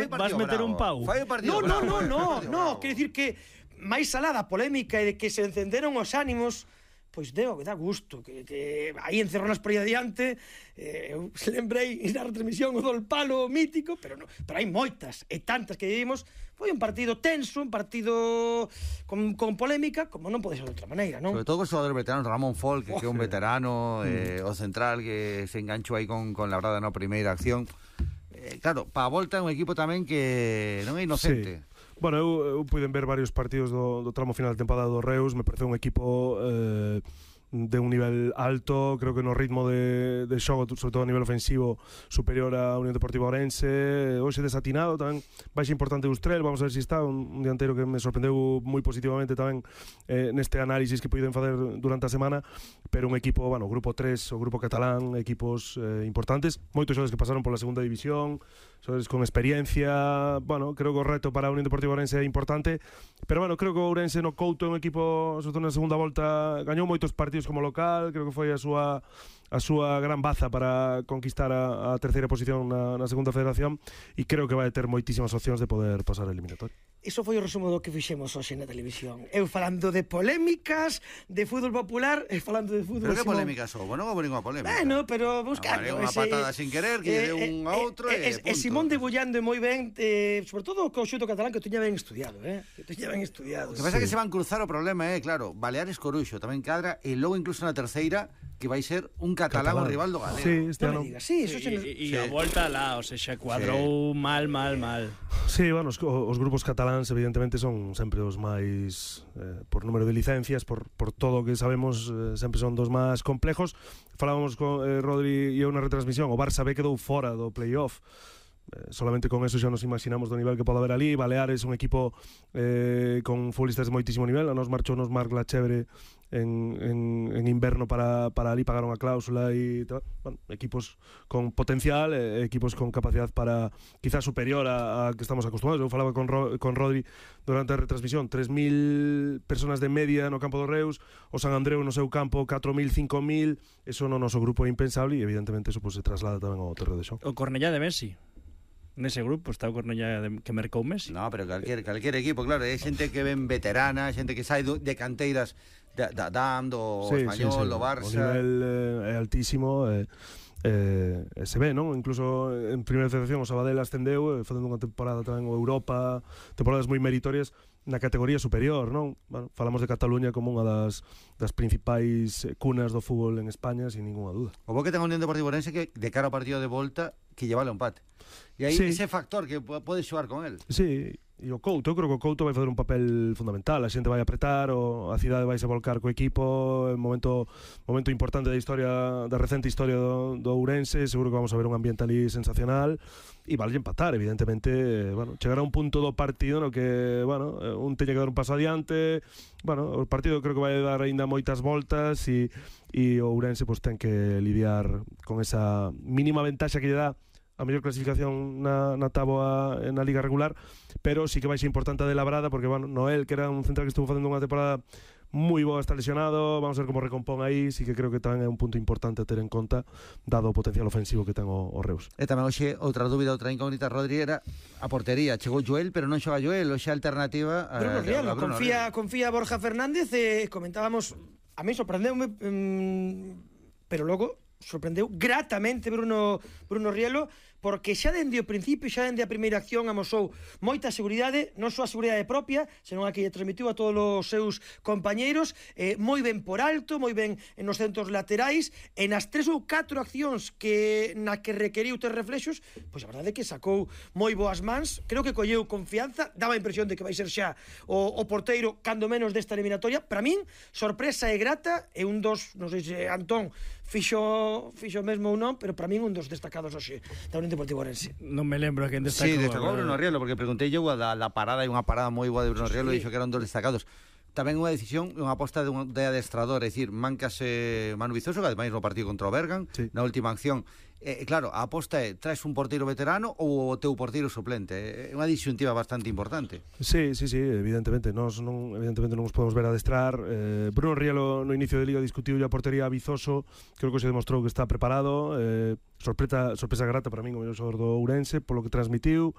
vas meter un pau. No, quero dicir que máis alá da polémica e de que se encenderon os ánimos, pois dá gusto que aí encerronas por aí adiante. Eu lembrei na retransmisión o do palo mítico, pero hai moitas e tantas que vivimos. Foi un partido tenso, un partido con polémica, como non pode ser de outra maneira, non? Sobre todo con os xogadores veteranos, Ramón Folk, que é un veterano, o central que se enganchou aí con Labrada na primeira acción. Claro, para a volta é un equipo tamén que non é inocente. Sí. Bueno, eu puiden ver varios partidos do tramo final de temporada do Reus. Me parece un equipo de un nivel alto, creo que no ritmo de xogo, sobre todo a nivel ofensivo, superior a Unión Deportiva Ourense. Hoxe desatinado, tamén baixa importante Ustrel, vamos a ver se está un dianteiro que me sorprendeu moi positivamente tamén neste análisis que puiden facer durante a semana, pero un equipo, bueno, o grupo 3, o grupo catalán, equipos importantes, moitos xogadores que pasaron pola segunda división, xogadores con experiencia. Bueno, creo que o reto para a Unión Deportiva Ourense é importante, pero bueno, creo que o Ourense no Couto é un equipo, sobre todo na segunda volta, gañou moitos partidos como local, creo que foi a súa gran baza para conquistar a terceira posición na segunda federación, e creo que vai ter moitísimas opcións de poder pasar a eliminatoria. Iso foi o resumo do que fixemos hoxe na televisión. Eu falando de polémicas, de fútbol popular, e falando de fútbol... Pero que polémicas son? Non houve ninguna polémica. Bueno, pero buscando... Unha patada sin querer, que deu un a outro e punto. E Simón debullando moi ben, sobre todo co xuto catalán, que o tiña ben estudiado, que o tiña ben estudiado. O que pasa é que se van cruzar o problema, claro, Baleares Coruxo tamén cadra, e logo incluso na terceira, que vai ser un catalán o rival do Galego. Sí, este ano. E a volta lá, o sea, cuadrou mal. Sí, bueno, os grupos cataláns evidentemente son sempre os máis, por número de licencias, por todo o que sabemos, sempre son dos máis complejos. Falábamos con Rodri e eu na retransmisión, o Barça B quedou fora do playoff. Solamente con eso xa nos imaginamos do nivel que pode haber ali. Baleares, un equipo con futbolistas de moitísimo nivel. A nos marchou Marc Lachevre en inverno para ali, pagaron a cláusula e tal. Bueno, equipos con potencial, equipos con capacidad para quizás superior a que estamos acostumados. Eu falaba con Rodri durante a retransmisión, 3.000 personas de media no campo do Reus, o San Andreu no seu campo 4.000, 5.000. Eso no noso grupo é impensable e evidentemente eso se traslada tamén ao terreo de xogo. O Cornellá de Messi. Nese grupo está o Cornellá que mercou Messi. No, pero calquer equipo, claro, é xente que ven veterana, xente que sai de canteiras da DAM, do Español, do Barça. O nivel é altísimo, se ve, non? Incluso en primeira federación o Sabadell ascendeu, facendo unha temporada tamén o Europa, temporadas moi meritorias na categoría superior, non? Bueno, falamos de Cataluña como unha das principais cunas do fútbol en España, sin ninguna duda. O bo que ten a Unión Deportiva Ourense que de cara ao partido de volta que lleva o empate. E aí ese factor que pode xogar con el. Sí, e o Couto, eu creo que o Couto vai fazer un papel fundamental. A xente vai apretar, a cidade vai se volcar co equipo, é un momento importante da recente historia do Ourense. Seguro que vamos a ver un ambiente ali sensacional e vale empatar, evidentemente. Bueno, chegar a un punto do partido no que, bueno, un teña que dar un paso adiante. Bueno, o partido creo que vai dar aínda moitas voltas e o Ourense pues ten que lidiar con esa mínima ventaxa que lle dá a mellor clasificación na táboa na liga regular, pero sí que vai ser importante a de Labrada, porque bueno, Noel, que era un central que estuvo facendo unha temporada moi boa, está lesionado, vamos a ver como recompón aí. Sí que creo que tamén é un punto importante a ter en conta, dado o potencial ofensivo que ten o Reus. E tamén hoxe outra dúbida, outra incógnita, Rodri, era a portería. Chegou Joel, pero non xoga Joel, hoxe a alternativa a Bruno Rielo. Confía Borja Fernández, comentábamos, a mí sorprendeume, pero logo sorprendeu gratamente Bruno Rielo, porque xa dende o principio, xa dende a primeira acción amosou moita seguridade, non só a seguridade propia, senón a que lle transmitiu a todos os seus compañeiros, moi ben por alto, moi ben nos centros laterais, e nas 3 ou 4 accións na que requeriu ter reflexos, pois a verdade é que sacou moi boas mans. Creo que colleu confianza, daba a impresión de que vai ser xa o porteiro cando menos desta eliminatoria. Para min, sorpresa e grata, e un dos, non sei se Antón fixo mesmo ou non, pero para min un dos destacados hoxe da Unión Deportiva Ourense. Non me lembro a quen destacou. Sí, destacou Bruno Rielo, porque preguntei eu a parada, e unha parada moi boa de Bruno Rielo, e dixo que eran dos destacados. Tamén unha decisión, unha aposta de adestrador, é dicir, mancase Manu Vizoso, que ademais no partido contra o Bergan, na última acción. Claro, a aposta é, traes un porteiro veterano ou o teu porteiro suplente? É unha disyuntiva bastante importante. Sí, evidentemente non nos podemos ver adestrar. Bruno Rielo no inicio de Liga discutiu a portería a Vizoso, creo que se demostrou que está preparado. Sorpresa grata para min o mellor xogador do Ourense, polo que transmitiu,